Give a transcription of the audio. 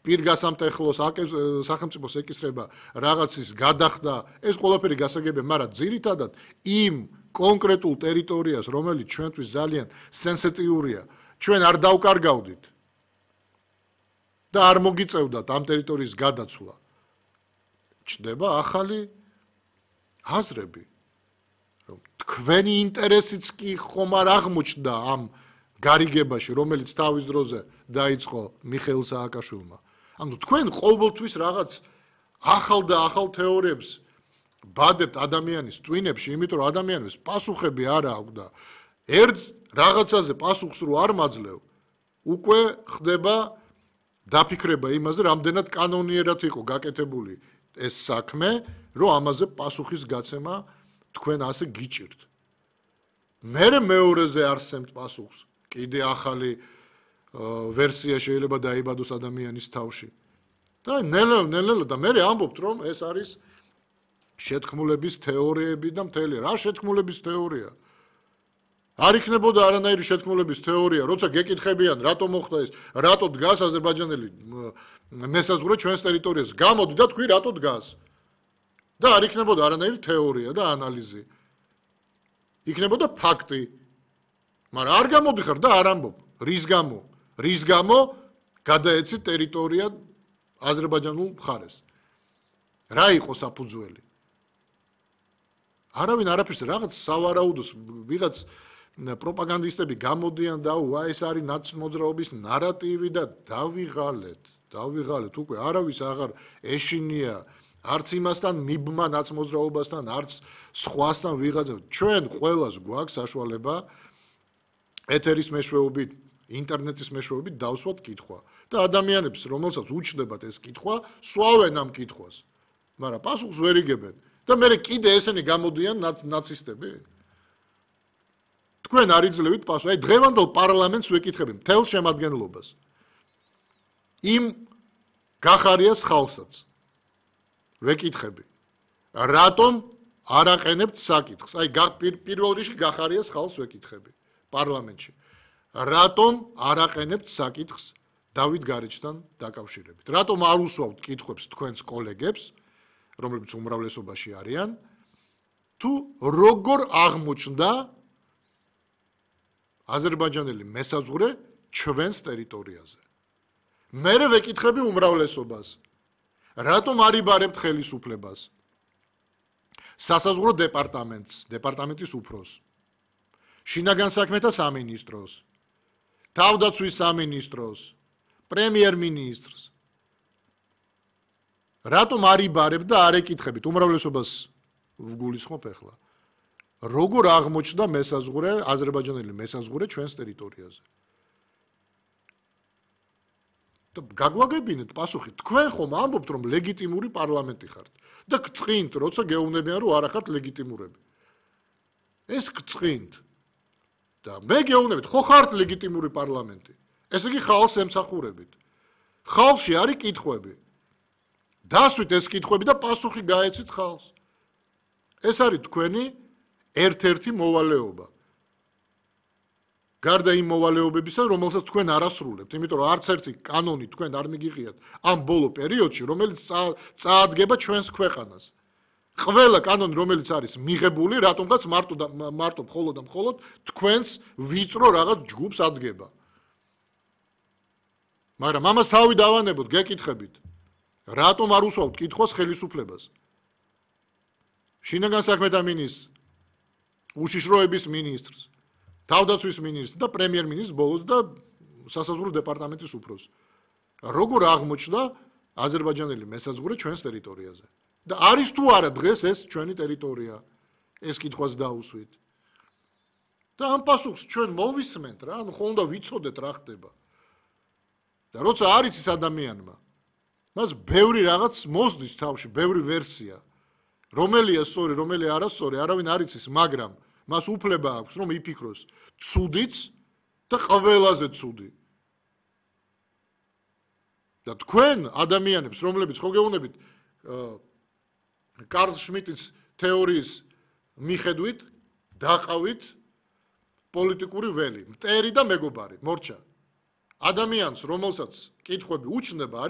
პირგასამტეხლოს სახელმწიფოს ეკისრება რაღაცის გადახდა, ეს ყველაფერი გასაგებია, მაგრამ ძირითადად იმ კონკრეტულ ტერიტორიას, რომელიც ჩვენთვის ძალიან სენსიტიურია, ჩვენ არ დავკარგავდით და არ მოგიწევდათ ამ ტერიტორიის გადაცვლა. ჩნდება ახალი აზრები, რომ თქვენი ინტერესიც კი ხომ არ აღმოჩნდა ამ გარიგებაში, რომელიც თავის დროზე დაიწყო მიხეილ სააკაშვილმა. ანუ თქვენ ყოველთვის რაღაც ახალ და ახალ თეორიებს ბადებთ ადამიანის ტვინებში, იმიტომ რომ ადამიანებს პასუხები არ აქვს და ერთ რაღაცაზე პასუხს რო არ მაძლევ, უკვე ხდება დაფიქრება იმაზე, რამდენად კანონიერად იყო გაკეთებული ეს საქმე, რომ ამაზე პასუხის გაცემა თქვენ ასე გიჭირთ. მერე მეორეზე არსებთ პასუხს. კიდე ახალი ვერსია შეიძლება დაიბადოს ადამიანის თავში. და ნელ-ნელა და მე ამბობთ, რომ ეს არის შეთქმულების თეორიები და მთელი რა შეთქმულების თეორია. არ იქნებოდა არანაირი შეთქმულების თეორია, როცა გეკითხებიან, რატო მოხდა ეს, რატო დგას აზერბაიჯანელი მესაზღვრე ჩვენს ტერიტორიაზე. გამოდი და თქვი, რატო დგას. და არ იქნებოდა არანაირი თეორია და ანალიზი. იქნებოდა ფაქტი. მაგრამ არ გამოდიხარ და არ ამბობ. რის გამო გადაეცით ტერიტორია აზერბაიჯანულ მხარეს. რა იყო საფუძველი? არავინ არაფერს რაღაც სავარაუდოს ვიღაც პროპაგანდისტები გამოდიან და ეს არის ნაცმოძრაობის ნარატივი და დავიღალეთ უკვე არავის აღარ ეშინია არც იმასთან მიბმა ნაცმოძრაობასთან არც სხვასთან ვიღაცა ჩვენ ყველას გვაქვს საშუალება ეთერის მეშვეობით ინტერნეტის მეშვეობით დავსვათ კითხვა და ადამიანებს რომელსაც უჩნდებათ ეს კითხვა სვავენ ამ კითხვას მაგრამ პასუხს ვერ იგებენ და მე კიდე ესენი გამოდიან ნაცისტები თქვენ არ იძლევით პასუხს აი დღევანდელ პარლამენტს ვეკითხები მთელ შემადგენლობას იმ გახარიას ხალხსაც ვეკითხები რატომ არ აყენებთ საკითხს აი პირველ რიგში გახარიას ხალხს ვეკითხები პარლამენტში რატომ არ აყენებთ საკითხს დავით გარეჯთან დაკავშირებით რატომ არ უსვავთ კითხვებს თქვენს კოლეგებს რომლებიც უმრავლესობაში არიან თუ როგორ აღმოჩნდა აზერბაიჯანელი მესაზღვრე ჩვენს ტერიტორიაზე მე ვეკითხები უმრავლესობას რატომ არ იბარებთ ხელისუფლებას სასაზღვრო დეპარტამენტის უფროს შინაგან საქმეთა სამინისტროს თავდაცვის სამინისტროს პრემიერ-მინისტრს რატომ არ იბარებთ და არ ეკითხებით უმრავლესობას ვგულისხმობ ახლა როგორ აღმოჩნდა მესაზღვრე აზერბაიჯანელი მესაზღვრე ჩვენს ტერიტორიაზე და გაგვაგებინეთ პასუხი თქვენ ხომ ამბობთ რომ ლეგიტიმური პარლამენტი ხართ და გწყინთ როცა გეუბნებიან რომ არ ახართ ლეგიტიმურები ეს გწყინთ და მე გეუბნებით ხო ხართ ლეგიტიმური პარლამენტი ესე იგი ხალხს ემსახურებით ხალხში არის კითხვები დასვით ეს კითხვები და პასუხი გაეცით ხალხს ეს არის თქვენი ერთ-ერთი მოვალეობა გარდა იმ მოვალეობებისა რომელსაც თქვენ არ ასრულებთ იმიტომ რომ არც ერთი კანონი თქვენ არ მიგიღიათ ამ ბოლო პერიოდში რომელიც წაადგება ჩვენს ქვეყანას ყველა კანონი რომელიც არის მიღებული რატომღაც მარტო მხოლოდ და მხოლოდ თქვენს ვიწრო რაღაც ჯგუფს ადგება მაგრამ ამას თავი დავანებოთ გეკითხებით რატომ არ უსვავთ კითხვას ხელისუფლებას შინაგან საქმეთა მინისტრს უშიშროების მინისტრს თავდაცვის მინისტრს და პრემიერ-მინისტრს ბოლოს და სასაზღვრო დეპარტამენტის უფროს როგორ აღმოჩნდა აზერბაიჯანელი მესაზღვრე ჩვენს ტერიტორიაზე და არის თუ არა დღეს ეს ჩვენი ტერიტორია ეს კითხვას დაუსვით და ამ პასუხს ჩვენ მოვისმენთ რა ანუ ხო უნდა ვიცოდეთ რა ხდება და როცა არის ის ადამიანმა მას ბევრი რაღაც მოსდის თავში ბევრი ვერსია რომელია სწორი რომელი არასწორი არავინ არ იცის მაგრამ მას უფლება აქვს რომ იფიქროს ცუდიც და ყველაზე ცუდი და თქვენ ადამიანებს რომლებიც ხო გეუბნებით კარლ შმიტის თეორიის მიხედვით დაყავით პოლიტიკური ველი მტერი და მეგობარი მორჩა ადამიანს რომელსაც კითხვები უჩნდება